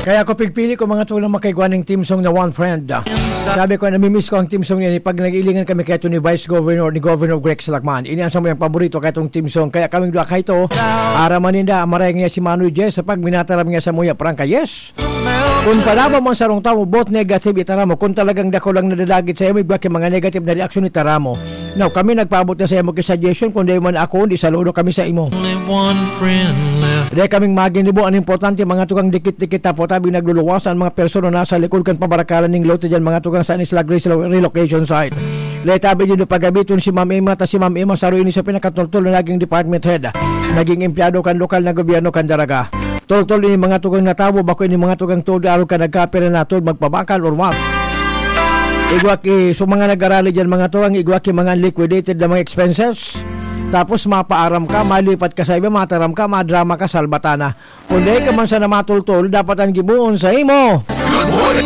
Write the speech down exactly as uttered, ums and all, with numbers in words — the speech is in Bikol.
Kaya ako pigpili ko, mga tugang, makaigwa ning theme song na One Friend. Sabi ko, namimiss ko ang theme song niya pag nag-ilingan kami kay ni Vice Governor, ni Governor Rex Lacman. Ini ang samuyang paborito kay itong theme song. Kaya kaming duwa kaito, araman ninda, maray niya si Manoy Jess sa pagminataram niya sa muya, prangka, yes. Kung palaban mo ang sarong tawo, both negative, itaram mo. Kung talagang dako lang nadadagit sa imo, igwa ki mga negative na reaksyon, itaram mo. Now, kami nagpaabot na sa imo ki suggestion, kung di man ako, di saludo kami sa imo. Only one friend left. Di kaming maginibo, ang importante, mga tugang, dikit-dikit tapo, tabi nagluluwasan ang mga persona nasa likod kan pabarakalan ning lote dyan, mga tugang, sa Isla Grace relo-, relocation site. Letabi din pagabiton si Ma'am Emma, ta si Ma'am Emma, saro ini sa pinakatultol na naging department head. Naging empleyado kan lokal na gobyerno kan Daraga. Tultol ini, mga tugang, na tawo, bako ini, mga tugang, tuod arog ka nagkapira na tuod magpabakal or what? Igwa ki, so mga nag-arali dyan, mga tugang, igwa ki mga liquidated na mga expenses. Tapos mapaaram ka, malipat ka sa iba, mataram ka, madrama ka, salbata na. Kung dai ka man sana matultol, dapat ang giboon sa imo.